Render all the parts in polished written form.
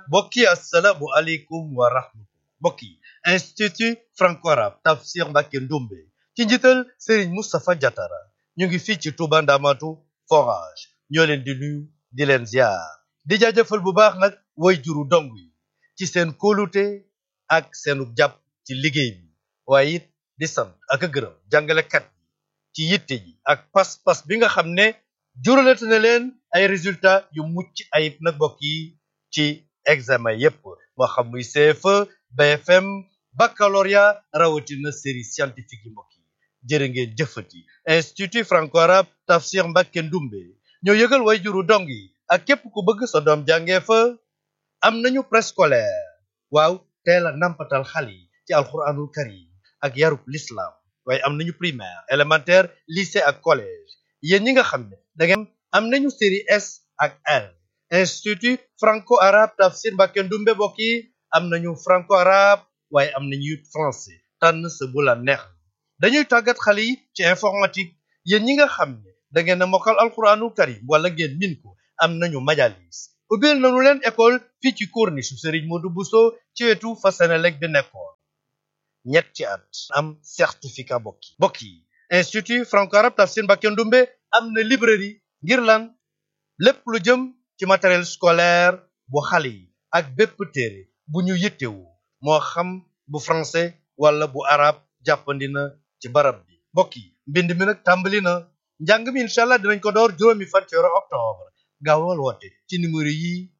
mbokk yi assalaamu aleykum wa rahmatullah. mbokk yi institut franco-arabe Tafsir Mbacké Ndoumbe ci njiital Serigne Moustapha Diatara ñu ngi fii ci Touba Ndamatu forage ñoo leen di nuyu di leen ziar di jaajëfal bu baax nag way juru dong yi ci seen kóolute ak seenu jàpp ci liggéey bi waaye it di sant ak a gërëm jàngalekat yi ci yitte ji ak pas-pas bi nga xam ne juralate na leen ay résultats yu mucc ayib nag mbokk yi ci examen yépp moo xam muy CFE BFM baccalauréat rawatina série scientifique yi mbokk yi jërë ngeen jëfati institut franco-arabe Tafsir Mbacké Ndoumbe ñoo yëgal way juru dong yi ak képp ku bëgg sa doom jàngee fa am nañu préscolaire waaw teel a nampatal xale yi ci alxuraanul karim ak yarub l'islam waaye am nañu primaire élémentaire lycée ak collège yéen ñi nga xam ne da ngeen am nañu série S ak L institut franco-arabe Tafsir Mbacké Ndoumbe mbokk yi am nañu franco-arabe waaye am nañu it français tànn sa bu la neex dañuy tàggat xale yi ci informatique yéen ñi nga xam ne da ngeen a mokkal alxuraanul karim wala ngeen min ko am nañu majalis ubbil nañu leen école fii ci corniche su Serigne Modou Bousso ci wetu fa Senelec bi nekkoon ñetti at am certificat mbokk yi institut franco-arabe Tafsir Mbacké Ndoumbe am na librairie ngir lan lépp lu jëm ci matériel scolaire bu xale yi ak bépp téere bu ñu yittewu moo xam bu français wala bu arabe jàppandi na ci barab bi mbokk yi mbind mi nag tàmbali na njàng mi incha allah dinañ ko door juróomi fan ci weeru octobre gaawal woote ci numéro yi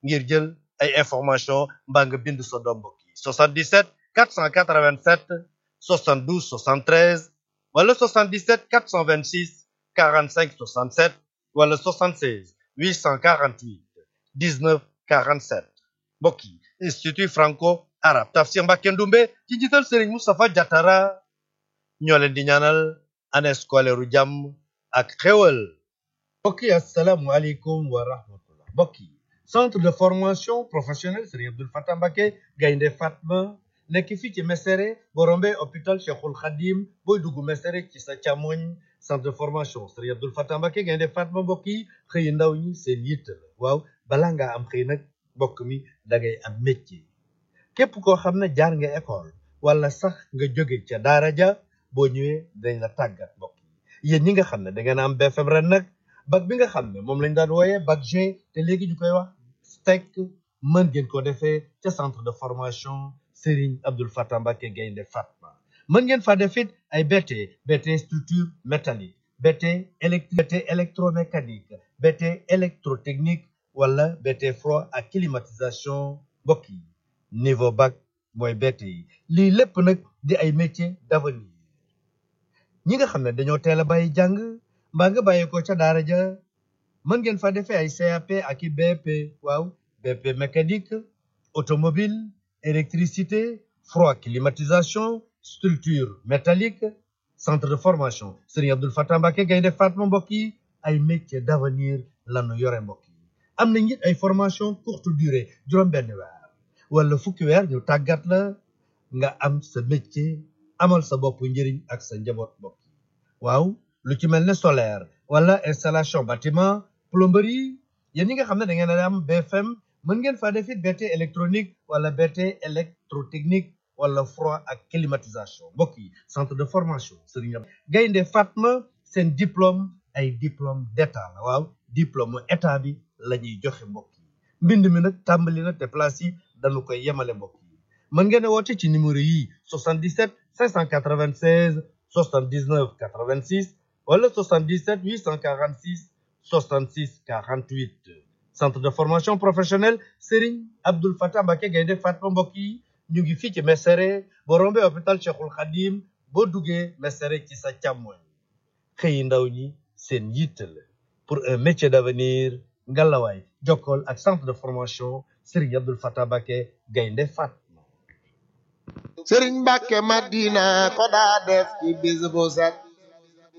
ngir jël ay information mbaa nga bind sa doom mbokk yi 77 487 72 73 wala 77 426 45 67 wala 76 848 19 47 mbokk yi institut franco-arabe Tafsir Mbacké Ndoumbe ci njiital Serigne Moustapha Diatara ñoo leen di ñaanal année scolaire u jàmm ak xéwal mbokk yi assalaamu aleykum wa rahmatullah mbokk yi centre de formation professionnelle Serigne Abdoul Fatah Mbacké Gaynde Fatma nekk fii ci Mesere boo rombee hôpital Cheikhul Khadim booy dugg Mesere ci sa càmmoñ centre de formation Serigne Abdoul Fatah Mbacké Gaynde Fatma mbokk yi xëy ndaw ñi seen yitte la waaw balaa ngaa am xëy nag mbokk mi da ngay am métier képp koo xam ne jaar nga école wala sax nga jóge ca daara ja boo ñëwee dañ la tàggat mbokk yi yéen ñi nga xam ne da ngeen am BFM ren nag bac bi nga xam ne moom lañ daan wooyee bac G te léegi ñu koy wax STEC mën ngeen ko defee ca centre de formation Serigne Abdoul Fatah Mbacké Gaynde Fatma mën ngeen fa defit ay BT structure métallique BT électromécanique BT électrotechnique wala BT froid ak climatisation mbokk yi niveau bac mooy BT yi lii lépp nag di ay métiers d'avenir ñi nga xam ne dañoo teel a bàyyi jàng mbaa nga bàyyi ko ca daara ja mën ngeen fa defee ay CAP ak i BP waaw BP mécanique automobile électricité froid climatisation structure métallique centre de formation Serigne Abdoul Fatah Mbacké Gaynde Fatma mbokk yi ay métiers d'avenir lanu yore mbokk yi am na it ay formation courte durée juróom-benn weer wala fukki weer ñu tàggat la nga am sa métier amal sa bopp njëriñ ak sa njaboot mbokk yi waaw lu ci mel ne solaire wala installation bâtiment plomberie yéen ñi nga xam ne da ngeen a am BFM mën ngeen faa def it BT électronique wala BT électrotechnique wala froid ak climatisation mbokk yi centre de formation Serigne Gaynde Fatma seen diplôme ay diplôme d'état la waaw diplôme état bi la ñuy joxe mbokk yi mbind mi nag tàmbali na te place yi dañu koy yemale mbokk yi mën ngeen a woote ci numéro yi 77 596 79 86 wala 77 846 66 48 centre de formation professionnelle Serigne Abdoul Fatah Mbacké Gaynde Fatma mbokk yi ñu ngi fii ci Mesere boo rombee hôpital Cheikhul Khadim boo duggee Mesere ci sa càmmoñ xëyi ndaw ñi seen yitte la pour un métier d'avenir ngalawaay jokkool ak centre de formation Serigne Abdoul Fatah Mbacké Gaynde Fatma Serigne Mbacké Madina ko daa def ci bis bu set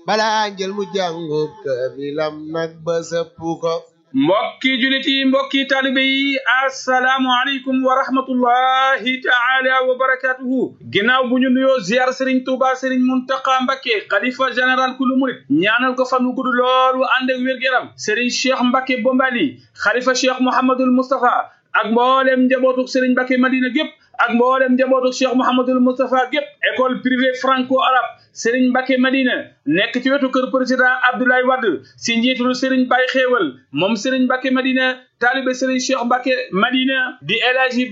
balaa njël mu jàngub kaamilam nag ba sëpp ko mbokki julit yi mbokki taalibe yi assalaamu aleykum wa rahmatullahi taala wa barakatuhu ginnaaw bu ñu nuyoo ziar Serigne Touba Serigne Mountakha Mbacké xalifa général kulu murit ñaanal ko fan wu gudd loolu ànd ak wér-gu-yaram Serigne Cheikh Mbacké Bombali xalifa Cheikh Mouhamadoul Moustapha ak mboolem njabootuk Serigne Mbacké Madina gépp ak mboolem njabootuk Cheikh Mouhamadoul Moustapha gépp école privée franco-arabe Serigne Mbacké Madina nekk ci wetu kër président Abdoulaye Wade si njiitul Serigne Baye Xéewal moom Serigne Mbacké Madina taalibe Serigne Cheikh Mbacké Madina di El Hadji